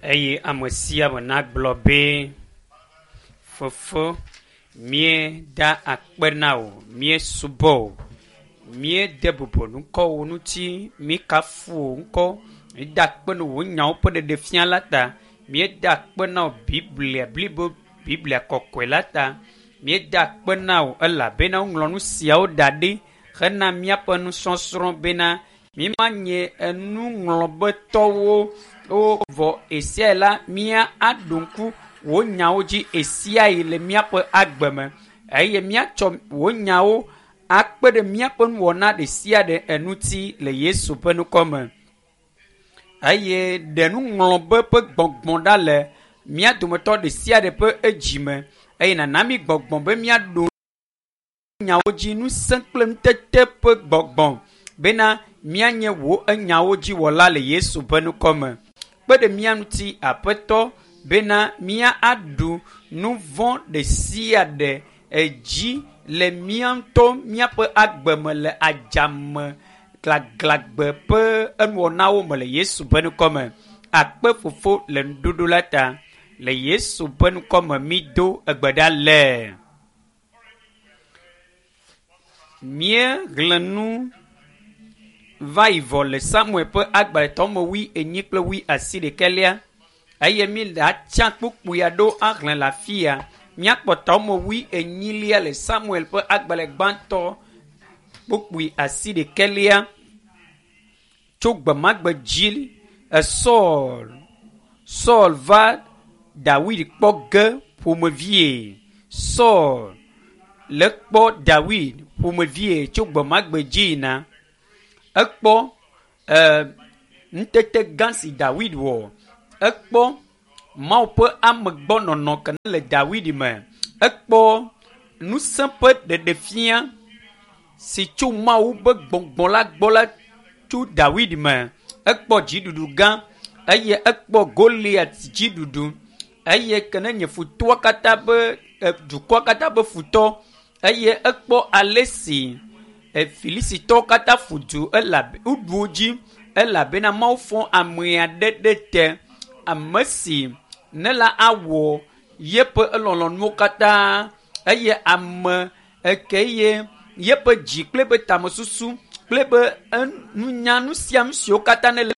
Eye ame sia ame nagblɔ be, Fofo, míeda akpe na wò, míesubɔ wò, míede bubu ŋkɔwò ŋuti, míekafu wò ŋkɔ, míeda akpe na wò nyawo ƒe ɖeɖefia la ta, míeda akpe na wò Biblia blibo, Biblia kɔkɔe la ta, míeda akpe na wò elabena woŋlɔ nu siawo da ɖi hena míaƒe nusɔsrɔ̃ bena mímanye enuŋlɔbetɔwo o vɔ esia la mía aɖo ŋku wò nyawo dzi esiayi le míaƒe agbe me eye míatsɔ wò nyawo akpe ɖe míaƒe nuwɔna ɖe sia ɖe eŋuti le Yesu ƒe ŋkɔ me. Eye ɖe nuŋlɔbe ƒe gbɔgbɔ ɖa le mía dometɔ ɖe sia ɖe ƒe edzi me eye nana mí gbɔgbɔ be míaɖo nyawo dzi ŋusẽ kple nutete ƒe gbɔgbɔ bena míanye wò enyawo dzi wɔla le Yesu ƒe ŋkɔ me. Kpe ɖe mía ŋuti Aƒetɔ bena mía aɖu nu vɔ̃ ɖe sia ɖe edzi le mía ŋutɔ míaƒe agbe me le adzame glaglagbe ƒe enuwɔnawo me le Yesu ƒe ŋkɔ me. Akpe fofo le nuɖuɖu la ta. Le Yesu ƒe ŋkɔ me mído egbe ɖa le. Míexlẽ nu va yi vɔ le Samuel ƒe agbalẽtɔ me 40 kple 81 eye mi le atsa kpukpui aɖewo axlẽ le afi ya. Míakpɔ tɔme 40 le Samuel ƒe agbalẽ gbãtɔ kpukpui 81 tso gbemagbe dzi Saul Saul va Dawid kpɔ ge ƒomevie. Saul le kpɔ Dawid ƒomevie tso gbemagbe dzi yina. Ekpɔ ŋutete gã si Dawid wɔ. Ekpɔ Mawu ƒe amegbɔnɔnɔ ke le Dawid me. Ekpɔ ŋusẽ ƒe ɖeɖefia si tso Mawu ƒe gbɔgbɔ la gbɔ la tso Dawid me. Ekpɔ dziɖuɖu gã eye ekpɔ Goliat dziɖuɖu eye ke ne nye futɔa katã be dukɔa katã be futɔ eye ekpɔ ale si Filisitɔwo katã ƒu du elabe woɖu wo dzi elabena Mawu fɔ ame aɖe ɖe te ame si ne la awɔ yeƒe elɔlɔ̃nuwo katã eye ame eke ye yeƒe dzi kple eƒe tamesusu kple eƒe nunya nu sia nu siwo katã ne le.